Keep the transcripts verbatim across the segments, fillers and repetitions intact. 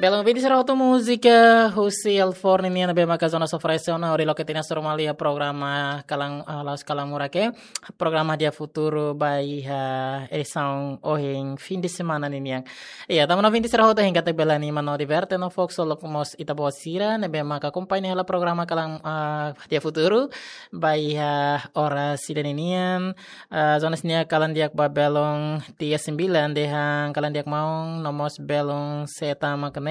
Belun ouvinte sira hotu, múzika husi Alforni nian ne'ebé maka Jonas oferese ona hodi loke tiha ona sorumalia programa Kalan, ah, La'ós Kalan Murak, programa Dia Futuru ba iha edisaun ohin fim de semana ninian. Iya, tanba ouvinte sira hotu hein katak bele anima no diverte no fokus loke mós ita-boot sira ne'ebé maka akompaña hela programa Kalan, ah, Dia Futuru ba iha oras ida-ne'e nian. Ah, Jonas nia kalan di'ak ba belun tiga sembilan dehan kalan di'ak maun, no mós belun seta mak ne'e.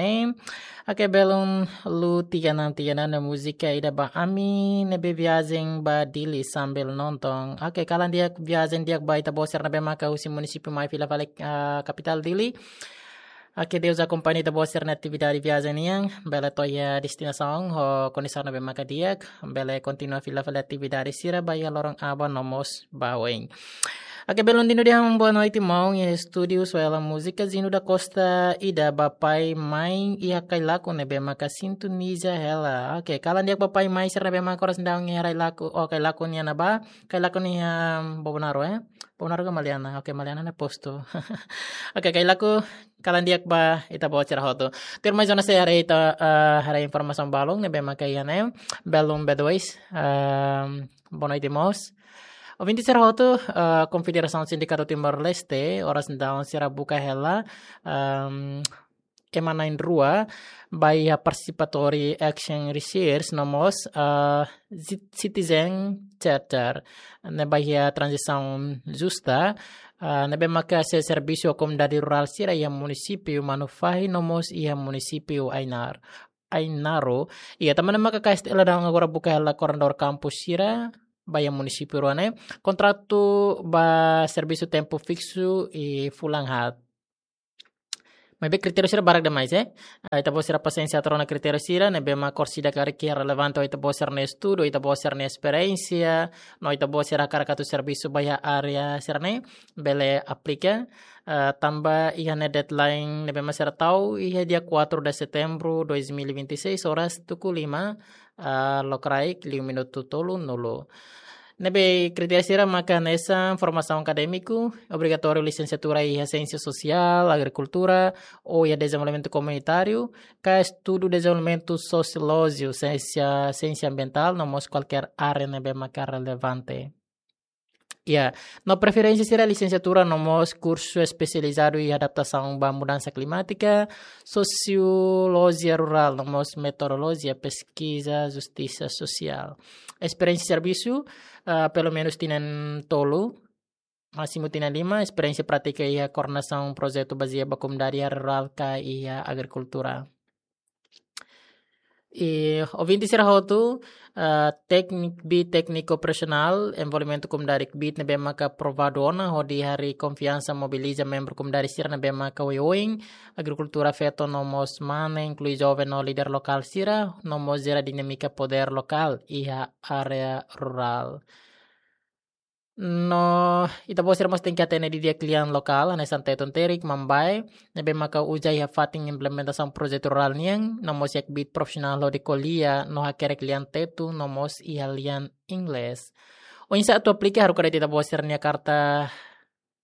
Oke, belun Lu tiga enam tiga enam ne'e múzika ida ba ami ne'ebé viajen ba Dili sambil nonton. Oke, kalan di'ak, viajen di'ak ba ita-boot sira ne'ebé maka husi munisípiu mai fila fali, ah, kapitál Dili. Oke, Deus akompaña ita-boot sira-nia atividade viajen nian, bele to'o iha destinasaun ho kondisaun ne'ebé maka di'ak, bele kontinua fila fali atividade sira ba iha loron aban no mós ba oin. Oke, belun Dino dehan boa noite maun, iha estúdiu só ela múzika Zino da Costa ida ba pai mai iha Cailaco ne'ebé maka sintoniza hela. Oke, kalan di'ak ba pai mai sira ne'ebé maka oras daudaun iha Cailaco, oh, Cailaco nian ne'ebá, Cailaco ne'e iha Bobonaro, eh? Bobonaro ka Maliana? Oke, Maliana ne'e postu. Oke, Cailaco, kalan di'ak ba ita-boot sira hotu. Tuirmai Jonas sei haree ita, eh, haree informasaun balun ne'ebé maka iha ne'e. Belun B dois, ehm, boa noite mós. Ouvinte sira hotu, eh, Konfederasaun Sindikatu Timor-Leste, oras daudaun sira buka hela, ehm, ema na'in-rua ba iha Participatory Action Research no mós, eh, Ci-, Citizen Charter, ne'e ba iha tranzisaun justa, eh, ne'ebé maka sei servisu ho komunidade rurál sira iha munisípiu Manufahi no mós iha munisípiu Ainar-, Ainaro. Iya, tanba ne'e maka K S T L daudaun agora buka hela koordenadór kampus sira ba iha munisípiu rua ne'e. Kontratu ba servisu tempu fiksu iha fulan haat. Maibé kritériu sira barak demais, eh. Ah, ita-boot sira pasiénsia atu rona kritériu sira ne'ebé mak orsida karik iha relevante ho ita-boot sira-nia estudu, ita-boot sira-nia esperiénsia, no ita-boot sira hakarak atu servisu ba iha área sira-ne'e, bele aplika. Ah, tanba iha ne'e deadline ne'ebé mak sira tau iha dia quatro de setembro dois mil e vinte e seis, oras tuku lima, ah, lokraik liu minutu tolunulu. Ne'ebé kritériu sira maka hanesan formasaun akadémiku, obrigatóriu lisensiatura iha Siénsia Sosiál, Agrikultura, ou iha Dezenvolvimentu Komunitáriu, ka estudu dezenvolvimentu sosiolójiku, siénsia, siénsia ambientál, no mós kualkér área ne'ebé maka relevante. Ya, no preferénsia sira lisensiatura no mós kursu espesializadu iha adaptasaun ba mudansa klimátika, sosiolojia rurál, no mós metodolojia peskiza justisa sosiál. Esperiénsia servisu, ah, pelumenus tinan tolu, másimu tinan lima, esperiénsia prátika iha koordenasaun projetu bazeia ba komunidade iha rurál ka iha agrikultura. I ouvinte sira hotu, ah, téknik-, kbiit tékniku operasionál, envolvimentu komunidade kbiit ne'ebé maka aprovadu ona hodi harii konfiansa mobiliza membru komunidade sira ne'ebé maka oioin, agrikultura feto no mós mane, inklui joven no líder lokál sira, no mós jera dinámika podér lokál iha área rurál. No ita-boot sira mós tenke hatene didi'ak lian lokál, hanesan Tetun Terik, Mambae, ne'ebé maka uza iha fatin implementasaun projetu rurál nian, no mós iha kbiit profisionál hodi ko'alia no hakerek lian Tetun, no mós iha lian Inglés. Oinsá atu aplika? Haruka de'it ita-boot sira-nia karta,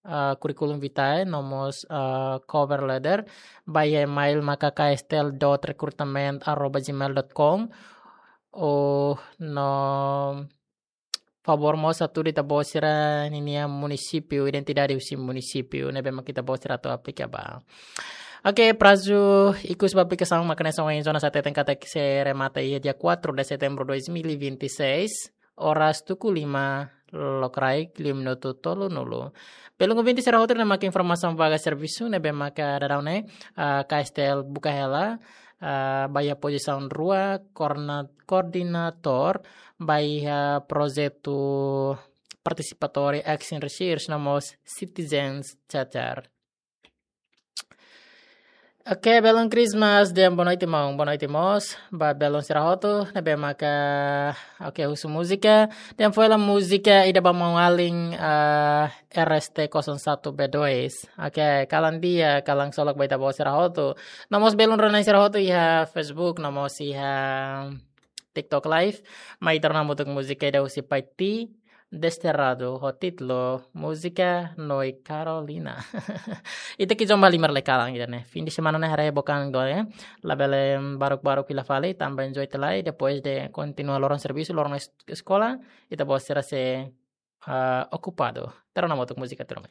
ah, curriculum vitae, no mós, ah, cover letter, ba iha email maka K S T L dot recruitment arroba gmail dot com, ou no favór mós hatudu ita-boot sira-ninia munisípiu, identidade husi munisípiu ne'ebé mak ita-boot sira atu aplika ba. Oke, prazu ikus ba aplikasaun maka hanesan ohin Jonas hateten katak sei remata iha dia quatro de setembro dois mil e vinte e seis, oras tuku lima lokraik liu minutu tolunulu. Belun ouvinte sira hotu, ne'e maka informasaun vaga servisu ne'ebé maka daudaun ne'e, ah, K S T L buka hela, ah, ba iha pozisaun rua, koordena-, koordenatór ba iha projetu Participatory Action Research no mós Citizens Charter. Oke, belun Christmas, dehan boa noite maun, boa noite mós ba belun sira hotu ne'ebé maka, oke, husu múzika, dehan foin hela múzika ida ba maun-alin, ah, R S T kosong satu B dois. Oke, kalan di'ak, kalan solok ba ita-boot sira hotu. No mós belun rona sira hotu iha Facebook, no mós iha TikTok Live. Mai ita rona hamutuk múzika ida husi Paiti, Desterrado, ho títulu Múzika Noi Carolina. Ita ki'ik jombá liu mai lai kalan ida-ne'e. Fin de semana ne'e haree book an duni, labele baruk-baruk fila fali, tanba enjoy tiha lai, depois de kontinua loron servisu, loron es-, eskola, ita-boot sira sei, ah, okupadu. Terus nama untuk múzika terus mai.